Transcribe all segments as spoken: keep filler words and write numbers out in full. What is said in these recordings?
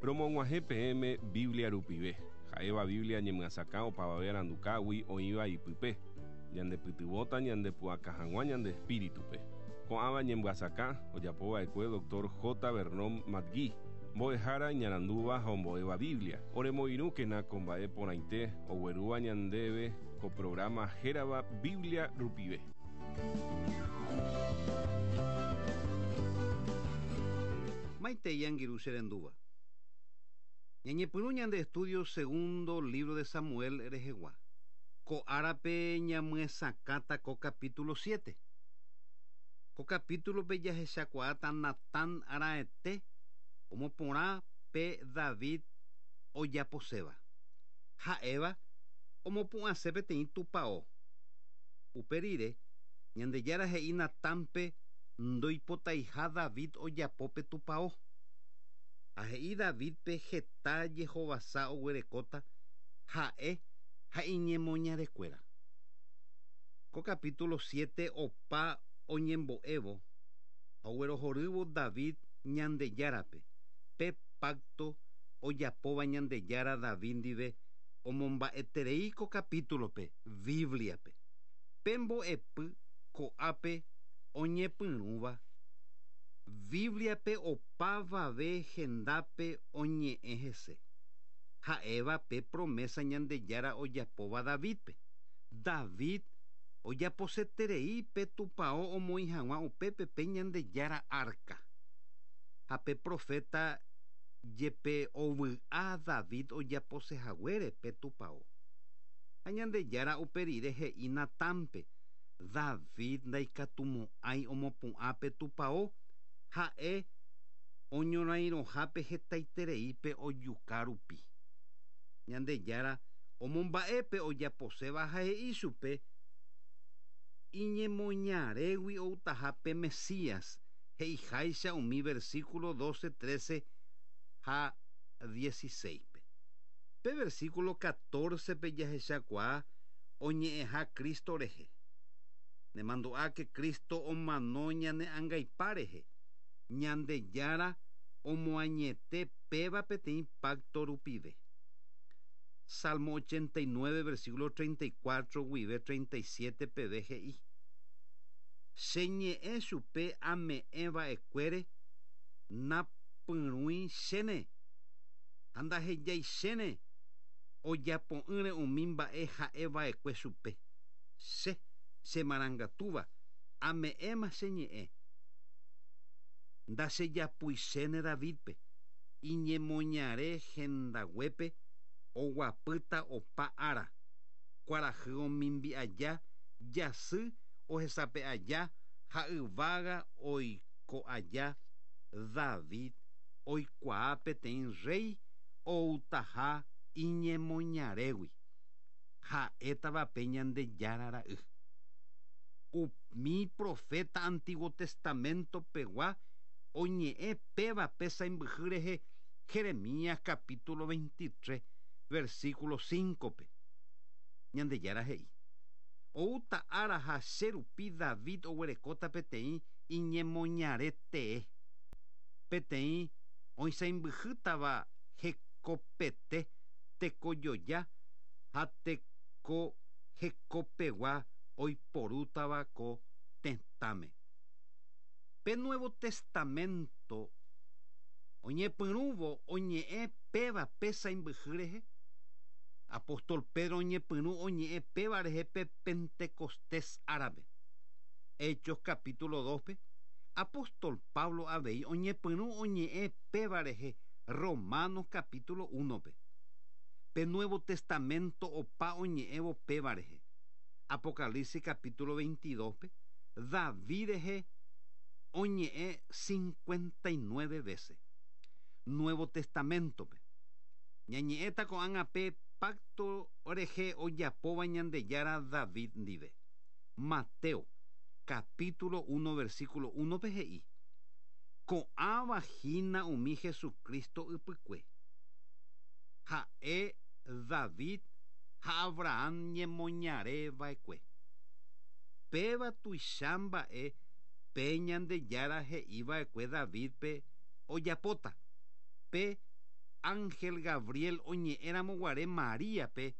Romog̃uahẽ peẽme Biblia rupive. Ha'éva Biblia ñemyasakã opavave arandukágui oĩva ipype. Ñandepytyvõta ñandepu'aka hag̃ua ñande espíritupe. Ko'ãva ñemyasakã ojapova'ekue doctor J. Vernon McGee, mbo'ehára iñarandúva ha ombo'éva Biblia. Oremoirũkena ko mba'e porãite oguerúva ñandéve ko programa hérava Biblia rupive. Maitei angirũ che rendúva. Ñañepyrũ ñande estudio segundo libro de Samuel rehegua. Ko árape ñamyesakãta ko capítulo siete. Ko capítulo-pe jahechakuaáta Natán araete omoporã pe David ojaposéva. Ha'éva omopu'ãse peteĩ tupão. Upe rire Ñandejára he'i Natánpe ndoipotaiha David ojapo pe tupão. Ha he'i Davidpe heta jehovasa oguerekóta ha'e ha iñemoñarekuéra. Ko capítulo siete opa oñembo'évo ha oguerohorývo David Ñandejárape pe pacto ojapóva Ñandejára David ndive omomba'eterei ko capítulo-pe Bibliape. Pe mbo'epy ko'ápe oñepyrũva Bibliape opavave hendápe oñe'ẽ hese. Ha'éva pe promesa Ñandejára ojapóva Davidpe. David ojaposeterei pe tupão omoĩ hag̃ua upépe pe Ñandejára arca. Ha pe profeta jepe ovy'a David ojaposehaguére pe tupão. Ha Ñandejára upe rire he'i Natánpe David ndaikatumo'ãi omopu'ã pe tupão ha'e oñorairõhápe hetaitereípe ojuka rupi. Ñandejára omomba'épe ojaposéva ha he'i chupe iñemoñarégui outaha pe Mesías he'iháicha umi versículo doce, trece ha dieciséis-pe. Pe versículo catorce-pe jahechakuaa oñe'ẽha Cristo rehe. Nemandu'áke Cristo omano ñane angaipa rehe. Ñandejára omoañete péva peteĩ pacto rupive. Salmo ochenta y nueve, versículo treinta y cuatro guive treinta y siete peve he'i. Che ñe'ẽ chupe ame'ẽva'ekuére napyrũi chéne ha ndahejái chéne ojapo'ỹre umi mba'e ha'eva'ekue chupe. Che, che marangatúva, ame'ẽma che ñe'ẽ. Ndachejapuichéne Davidpe, iñemoñare hendaguépe oguapýta opa ára, kuarahy omimbi aja, jasy ohesape aja ha yvága oiko aja David oikuaa peteĩ rey outaha iñemoñarégui. Ha'étava pe Ñandejára ra'y. Umi profeta Antiguo Testamento pegua oñe'ẽ péva pe saimbyhy rehe Jeremías capítulo veintitrés versículo cinco-pe. Ñandejára he'i. Oúta ára ha che rupi David oguerekóta peteĩ iñemoñare tee. Peteĩ oisãimbyhýtava hekopete tekojoja ha teko hekopegua oiporútava ko tetãme. Pe Nuevo Testamento oñepyrũvo oñe'ẽ péva pe saimbyhy rehe. Apóstol Pedro oñepyrũ oñe'ẽ péva rehe pe Pentecostés árape. Hechos capítulo dos-pe. Apóstol Pablo avei oñepyrũ oñe'ẽ péva rehe Romanos capítulo uno-pe. Pe Nuevo Testamento opa oñe'ẽvo péva rehe. Apocalipsis capítulo veintidós-pe David rehe oñe'ẽ cincuenta y nueve veces. Nuevo Testamento-pe. Ñañe'ẽta ko'ág̃a pe pacto rehe ojapóva Ñandejára David ndive. Mateo capítulo uno versículo uno-pe he'i. Ko'ãva hína umi Jesucristo ypykue. Ha'e David ha Abraham ñemoñareva'ekue. Péva tuicha mba'e pe Ñandejára he'iva'ekue Davidpe ojapóta. Pe Ángel Gabriel oñe'ẽramo guare Maríape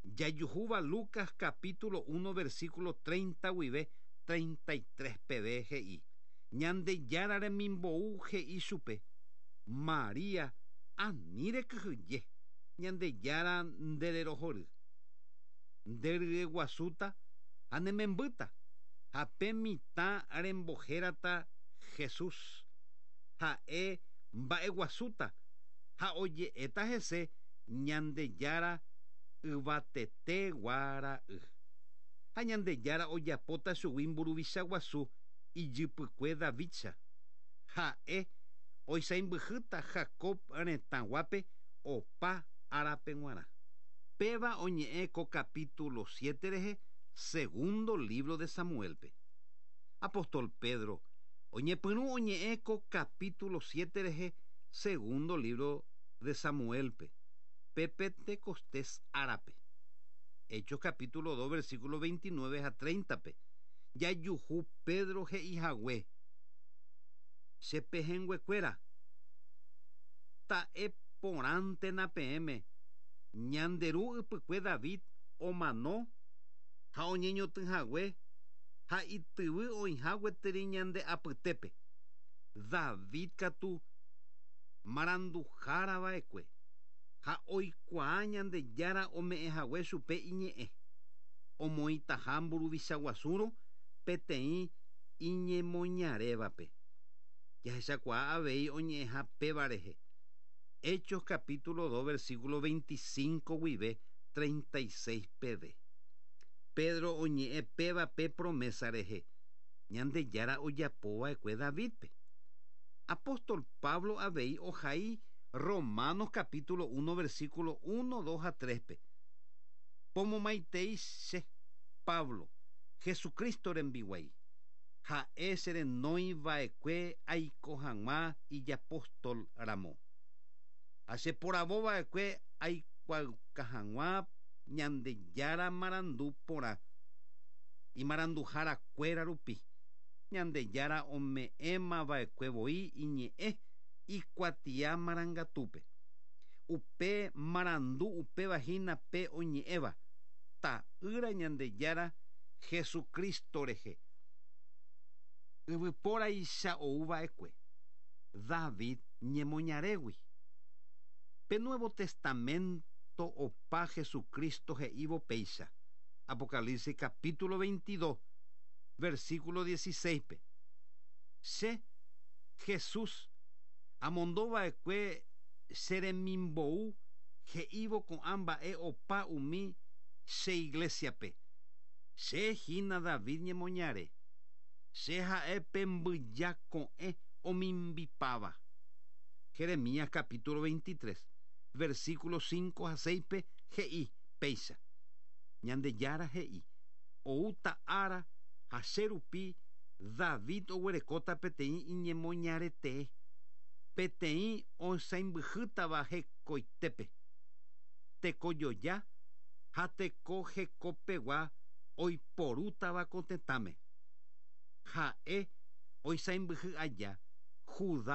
jajuhúva Lucas capítulo uno versículo treinta guive treinta y tres peve he'i Ñandejára remimbou he'i chupe María ani rekyhyje Ñandejára ndererohory nderyeguasúta ha nemembýta ha pe mitã rembohérata Jesús ha'e mba'eguasúta ha oje'éta hese Ñandejára yvatete guara'y ha Ñandejára ojapóta chugui mburuvicha guasu ijypykue Davidcha ha'e oisãmbyhýta Jacob retãguápe opa árape g̃uarã. Péva oñe'ẽ ko capítulo siete rehe segundo libro de Samuelpe. Apóstol Pedro oñepyrũ oñe'ẽ ko capítulo siete rehe segundo libro de Samuelpe. Pe Pentecostés árape. Hechos capítulo dos versículo veintinueve a treinta pe. Jajuhu Pedro he'ihague. Che pehẽnguekuéra. Ta'e porãntena peẽme. Ñanderu ypykue David omano ha oñeñotỹhague ha ityvy oĩha gueteri ñande apytépe. David katu maranduhára va'ekue ha oikuaa Ñandejára ome'ẽhague chupe iñe'ẽ omoĩtaha mburuvicha guasúrõ peteĩ iñemoñarévape. Jahechakuaa avei oñe'ẽha péva rehe. Hechos capítulo dos versículo veinticinco guive treinta y seis peve. Pedro oñe'ẽ péva pe promesa rehe Ñandejára ojapova'ekue Davidpe. Apóstol Pablo avei ohai Romanos capítulo uno versículo uno, dos a tres pe. Pomomaitei che Pablo Jesucristo rembiguái ha'e cherenóiva'ekue aiko hag̃ua ijapóstol ramo. Ha cheporavova'ekue aikuaauka hag̃ua Ñandejára marandu porã imaranduharakuéra rupi. Ñandejára ome'ẽmava'ekue voi iñe'ẽ ikuatia marangatúpe. Upe marandu upéva hína pe oñe'ẽva ta'ýra Ñandejára Jesucristo rehe. Yvypóraicha ouva'ekue David ñemoñarégui. Pe Nuevo Testamento opa Jesucristo he'ívo péicha. Apocalipsis capítulo veintidós versículo dieciséis pe. Che Jesús amondova'ekue cheremimbou he'ívo ko'ã mba'e opa umi che iglesiape. Che hína David ñemoñare. Che ha'e pe mbyja ko'ẽ omimbipáva. Jeremías capítulo veintitrés versículo cinco a seis pe he'i péicha. Ñandejára he'i oúta ára ha che rupi David oguerekóta peteĩ iñemoñaretee peteĩ osãimbyhýtava hekoitépe. Tekojoja ha teko hekopegua oiporútava ko tetãme. Ha'e oisãmbyhy aja Judá